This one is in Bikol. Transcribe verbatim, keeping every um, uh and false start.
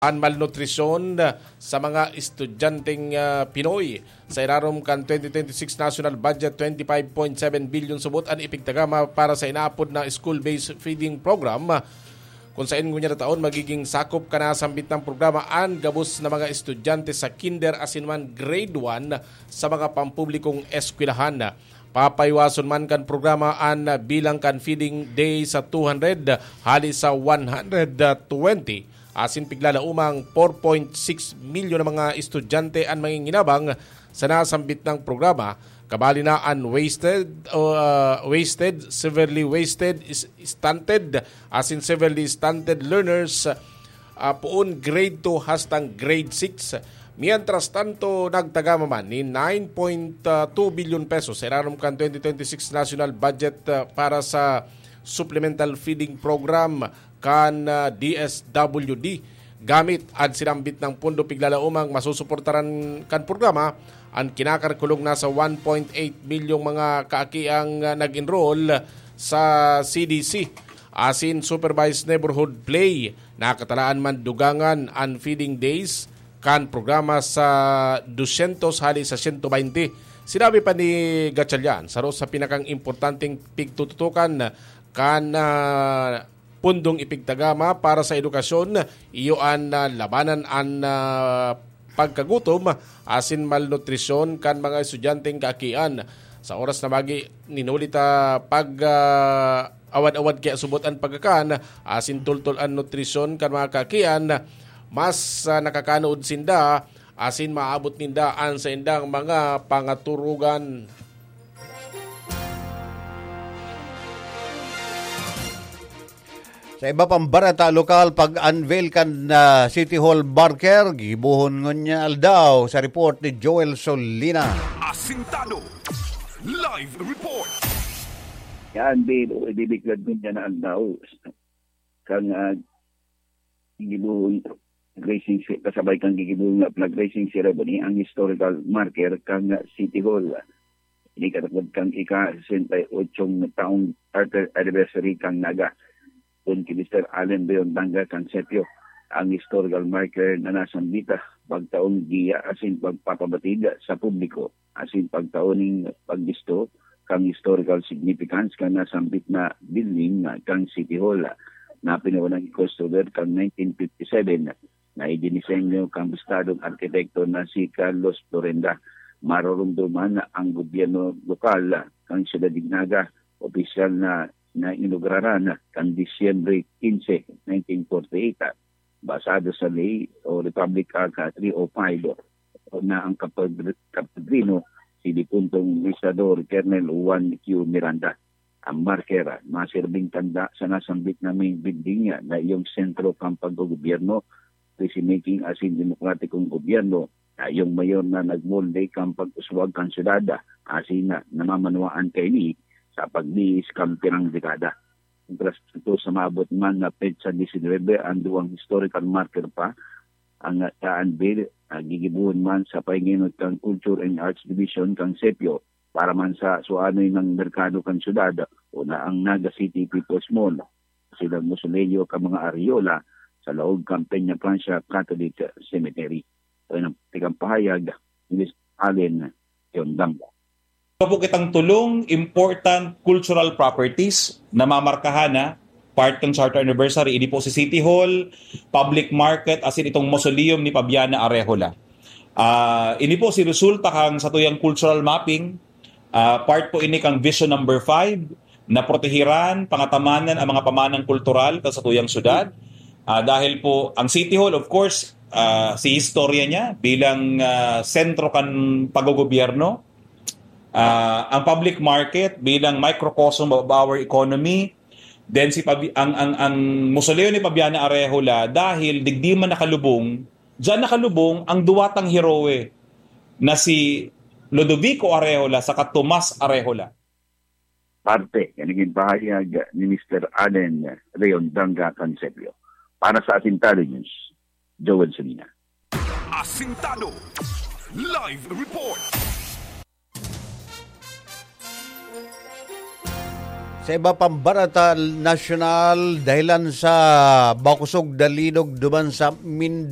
an malnutrisyon sa mga estudyanteng, ah, Pinoy. Sa irarom kan twenty twenty-six national budget, twenty-five point seven billion subot an ipigtagama para sa inaapod na school-based feeding program, kung saen ngunyan na taon magiging sakop kan nasambit na programa an gabos na mga estudyante sa kinder asin man grade one sa mga pampublikong eskwelahan. Papaiwason man kan programa an bilang kan feeding day sa two hundred hali sa one hundred twenty, asin piglalaomang four point six milyon na mga estudyante an manginginabang sa nasambit na programa, kabali na an wasted o, ah, wasted, severely wasted, is-, stunted, asin severely stunted learners, ah, poon grade two hastang grade six. Mientras tanto, nagtagama man nin nine point two billion pesos sa irarom kan twenty twenty-six national budget, ah, para sa supplemental feeding program kan, ah, D S W D. Gamit an sinambit na pondo, piglalaomang masusuportaran kan programa an kinakalkulong nasa one point eight milyong mga kaakiang, ah, nag-enroll sa C D C. Asin supervised neighborhood play, nakatalaan man dugangan an feeding days kan programa sa dosyentos hali sa siyento baynte. Sinabi pa ni Gatchalian, saro sa pinakang importanteng pigtututukan kan, ah, pundong ipigtagama para sa edukasyon, iyo an, ah, labanan an, ah, pagkagutom asin malnutrisyon kan mga estudyanteng kaakian. Sa oras na magi, ninuli ta pag, ah, awad-awad kaya subot an pagkakan asin tultol an nutrisyon kan mga kaakian, mas, ah, nakakanood sinda asin maabot ninda an saindang mga pangaturugan. Sa iba pang bareta lokal, pag-unveil kan, ah, City Hall marker, gigibohon ngunyan aldaw sa report ni Joel Solina. Asintado. Live report. Yan, Bill, o idideklar ngunyan na aldaw. Kan, ah, gigibohon, raising ce-, kasabay kan gigibohon nga flag raising ceremony, ang historical marker kan City Hall. Ini katakod kan ika-sesenta y ocho taong charter anniversary kan Naga. Kun ki Mister Allen Leon Danga kan Sepio, ang historical marker na nasambita, pagtaong giya asin pagpapabatid sa publiko, asin pagtaon ning pagbisto kan historical significance kan nasambit na building kan City Hall, na pinaunang i-construir kan nineteen fifty-seven, na idinisenyo kan bistadong arkitekto na si Carlos Florenda. Maroromdoman ang gobyerno lokal kan Siyudad nin Naga, opisyal na nainuguraran kan Disyembre quince, nineteen forty-eight, basado sa ley o Republic Act three oh five, na ang kapag-, kapadrino si dipuntong Luis Sador, Colonel Juan Q. Miranda. Ang marker, masirbing tanda sa nasambit na main building na iyong sentro kan paggogobyerno, policy making asin demokratikong gobyerno, na iyong mayor na nagmolde kan pag-uswag kan syudad, asin na namamanwaan kaini sa pagbihis kan pirang dekada. Mientras tanto, sa maabot man na petsa disinwebe, ang duwang historical marker pa ang, ah, unveil, ah, gigibohon man sa pahingenot kan Culture and Arts Division kan Sepio, para man sa suanoy nang merkado kan syudad, o na ang Naga City People's Mall, silang mausoleo kan mga Arreola sa laog kan Peña Francia Catholic Cemetery. Ito ang tikang pahayag ni Mister Allen Yondang. Ito po kitang tulong important cultural properties na mamarkahan na part ng Charter Anniversary. Ini po si City Hall, public market, asin itong mausoleum ni Fabiana Arrejola. Ah, ini po si resulta kan satuyang cultural mapping. Ah, part po ini kan Vision Number Five, na protehiran, pangatamanan ang mga pamanang kultural kan satuyang syudad. Ah, dahil po, ang City Hall, of course, ah, si istorya niya bilang, ah, sentro kan paggogobyerno. Ah, ang public market bilang microcosm of our economy. Then si Pabi-, ang, ang, ang mausoleo ni Fabiana Arrejola, dahil digdi man nakalubong, diyan nakalubong ang duwatang heroe na si Ludovico Arrejola saka Tomas Arrejola. Parte kan naging pahayag ni Mister Allen Leon Danga Cansebio. Para sa Asintado News, Joel Solina. Asintado Live Report. Sa iba pang bareta nasyonal, dahilan sa makusog na linog duman sa Mindanao,